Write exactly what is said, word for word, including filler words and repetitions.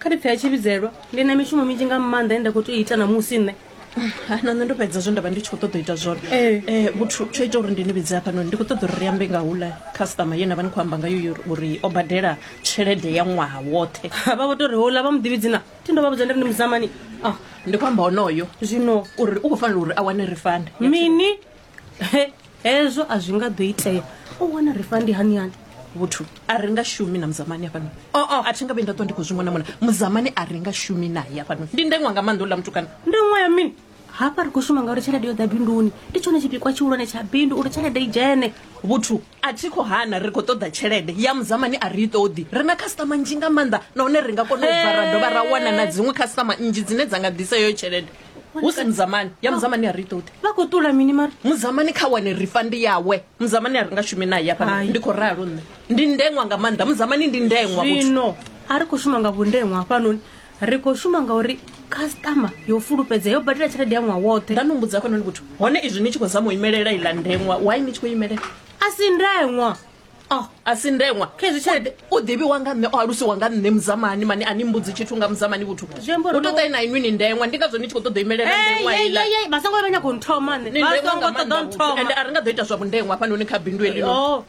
Kha ndi pfhe ya tshivhidzelwa, ndi na mishumo minzhi nga maanḓa ine nda khou tea u ita namusi nṋe. Na nṋe ndo fhedza zwe nda vha ndi tshi khou ṱoḓa u ita zwone. Ee. Eh, vhuthu tsho ita uri ndi ni vhidze hafhanoni, ndi khou ṱoḓa uri ri ambe nga hula customer ye na vha ni khou amba ngayo yo uri o badela tshelede ya ṅwaha woṱhe. Vha vho tou ri houḽa vha muḓivhi dzina, thi ndo vha vhudza ndi ri ndi muzamani. Ah, Ndi khou amba honoyo zwino uri u khou fanela uri a wane refund. Mini? He, hezwo a zwi nga ḓo itea. U wana refund hani hani? Vhuthu, a ri nga shumi na muzamani hafhanoni. Oh, oh. A thi nga vhuyi nda ṱwa ndi khou zwi mona mona. Muzamani a ri nga shumi naye hafhanoni. Ndi ndengwa nga maanḓa uḽa mutukana. Ndi ṅwa ya mini? Hafha ri khou shuma ngauri tshelede yo ḓa binduni. Ndi tshone tshipikwa tshihulwane tsha bindu uri tshelede i dzhene. Vhuthu, a thi khou hana ri khou ṱoḓa tshelede ya muzamani, a ri i ṱoḓi. Ri na customer nnzhi nga maanḓa, nahone ri nga kona u bva ra dovha ra wana na dziṅwe customer nnzhi dzine dza nga ḓisa heyo tshelede, hu si muzamani. Ya muzamani a ri i ṱoḓi. Vha khou ṱula mini mara? Muzamani kha wane refund yawe. Muzamani a ri nga shumi naye hafhanoni. Hai. Ndi khou ralo nṋe, ndi ndengwa nga maanḓa. Muzamani ndi ndengwa, vhuthu. Zwino a ri khou shuma nga vhundengwa hafhanoni, ri khou shuma ngauri customer yo fulufhedzea yo badela tshelede ya ṅwaha woṱhe. Nda no mbudza hafhanoni, vhuthu, hone izwi ni tshi khou zama u imelela iḽa ndengwa, why ni tshi khou imelela? A si ndengwa. Oh, A si ndengwa? Khezwi tshelede U ḓivhiwa nga nṋe, o alusiwa nga nṋe muzamani mani. A ni mbudzi tshithu nga muzamani, vhuthu. Zwi amba uri U tou ṱai na inwi ni ndengwa, ndi ngazwo ni tshi khou ṱoḓa u imelela ndengwa iḽa. Vha songo vha nyago nthoma nṋe. Ni Vha ndengwa songo nga ṱoḓa maanḓa, vhuthu. nthoma. Ende a ri nga ḓo ita zwa vhundengwa hafhanoni kha bindu heḽino. Oh.